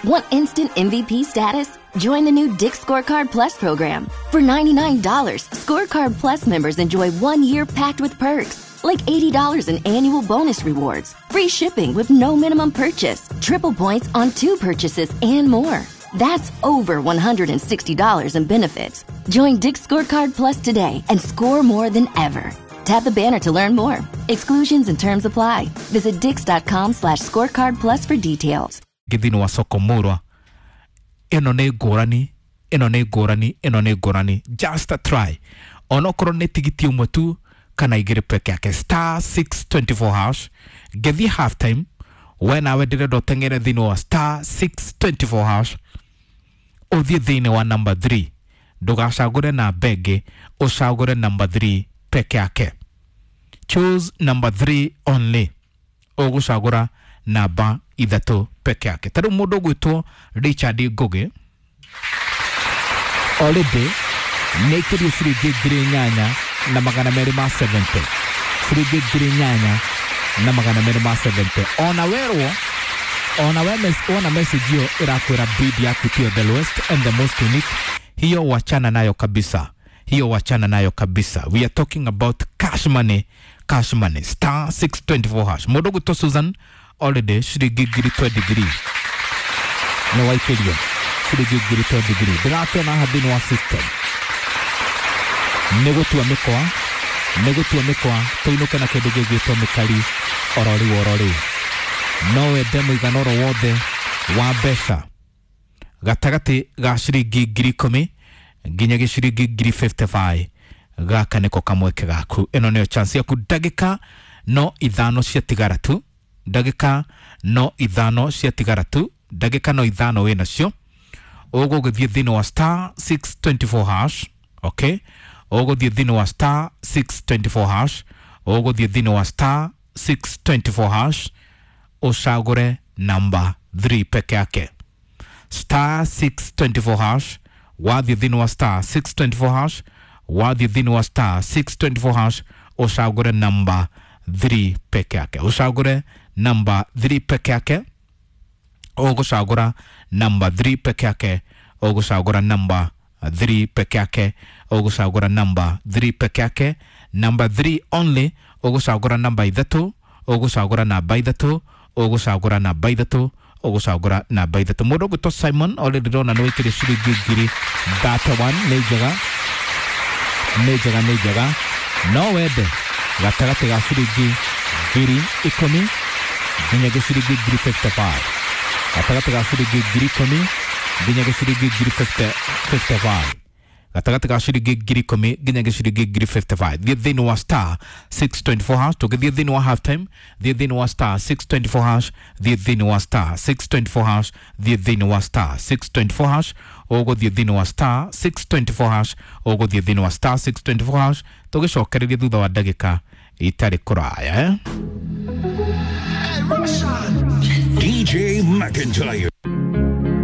Want instant MVP status? Join the new Dick's Scorecard Plus program. For $99, Scorecard Plus members enjoy 1 year packed with perks, like $80 in annual bonus rewards, free shipping with no minimum purchase, triple points on two purchases, and more. That's over $160 in benefits. Join Dick's Scorecard Plus today and score more than ever. Tap the banner to learn more. Exclusions and terms apply. Visit dicks.com/scorecard plus for details. Thĩinĩ wa soko murwa ĩno nĩ ngũrani, ĩno nĩ ngũrani, ĩno nĩ ngũrani. Just a try, onokorwo nĩ tigiti ũmwe tu kana igĩrĩ peke yake. *624 hash. Ngĩthiĩ half time, we nawe ndĩrenda ũteng'ere thĩinĩ wa *624 hash, ũthiĩ thĩinĩ wa number 3. Ndũgacagũre namba ĩngĩ, ũcagũre number 3 peke yake. Choose number 3 only. Ũgũcagũra namba ithatũ peke yake. Ta rĩu mũndũ ũgwĩtwo Richard Ngugi already nĩ aikĩrio ciringi 8270, ciringi 8270. Ona werwo, ona we wona message hiyo ĩrakwĩra bid yaku tiyo the lowest and the most unique, hiyo wachana nayo kabisa, hiyo wachana nayo kabisa. We are talking about cash money, cash money. *624 hash. Mũndũ ũgwĩtwo Susan already ciringi 23,000 nĩ waikĩrio, ciringi 23,000. Ndĩrakĩona haha thĩinĩ wa system nĩ gũtua mĩkwa, nĩ gũtua mĩkwa tũinũke na kĩndũ gĩgwĩtwo mĩkari oro rĩu, oro rĩu. No wende mũigana oro wothe wa mbeca gatagatĩ ga ciringi 10,000 nginya gĩciringi 55,000. Gaka nĩko kamweke gaku, ĩno nĩyo chance yaku. Ndagĩka no ithano ciatigara tu, ndagĩka no ithano ciatigara tu, ndagĩka no ithano wĩ nacio. Ũgũgĩthiĩ thĩinĩ wa *624 hash, okay? Ũgũthiĩ thĩinĩ wa *624 hash, ũgũthiĩ thĩinĩ wa *624 hash, ũcagũre namba 3 peke yake. *624 hash. Wathiĩ thĩinĩ wa *624 hash, wathiĩ thĩinĩ wa *624 hash, ũcagũre namba 3 peke yake, ũcagũre namba 3 peke yake. Ũgũcagũra namba 3 peke yake, ũgũcagũra namba 3 peke yake, ũgũcagũra namba 3 peke yake. Namba 3 only. Ũgũcagũra namba ithatũ, ũgũcagũra namba ithatũ, ũgũcagũra namba ithatũ, ũgũcagũra namba ithatũ. Mũndũ ũgwĩtwo Simon already ndĩrona nĩ wĩkĩrĩ ciringi 31,000. Nĩ njega, nĩ njega, nĩ njega. No wende gatagatĩ ga ciringi 10,000 nginya gĩciringi 55,000, gatagatĩ ga ciringi 10,000 nginya gĩciringi 55,000, gatagatĩ ga ciringi 10,000 nginya gĩciringi 55,000. Thiĩ thĩinĩ wa *624 hash. Tũgĩthiĩ thĩinĩ wa half time, thiĩ thĩinĩ wa *624 hash, thiĩ thĩinĩ wa *624 hash, thiĩ thĩinĩ wa *624 hash. Ũgũthiĩ thĩinĩ wa *624 hash, ũgũthiĩ thĩinĩ wa *624 hash. Tũgĩcokereria thutha wa ndagĩka itarĩ kũraya, eh? DJ McIntyre.